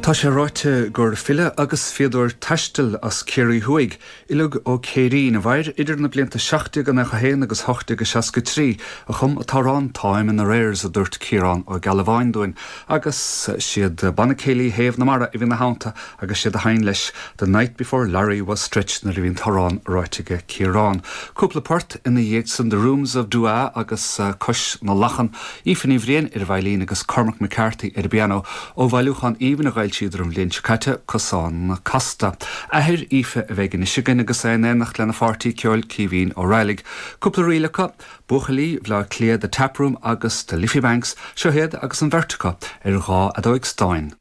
Tá sé ráite gur file agus fíodóir taistil as Ciarraí Thuaidh, Uileag Ó Céirín, a mhair idir na blianta 1791 agus 1863, a chum an t-amhrán 'Táim in Arrears' a dúirt Ciarán Ó Gealbháin dúinn, agus siad Banna Céilí Thaobh na Mara a bhí ina theannta agus siad a sheinn leis 'The Night Before Larry Was Stretched' nuair a bhí an t-amhrán ráite aige Ciarán. Cúpla port ina dhiaidh san 'The Rooms of Duagh' agus 'Cois na Lachan'. Aoife Ní Bhriain ar an veidhlín agus Cormac McCarthy ar an bpianó ó bhailiúchán aoibhinn a dh'fhoilsíodar an bhliain seo caite, Cosán Casta. Athair Aoife a bheidh anois againn agus é in éineacht lena pháirtí ceoil Caoimhín Ó Raghallaigh. Cúpla ríl acu, Buachaillí Bhaile Átha Cliath, The Tap Room agus The Liffey Banks, seo iad agus an bheirt acu ar dha fheadóig stáin.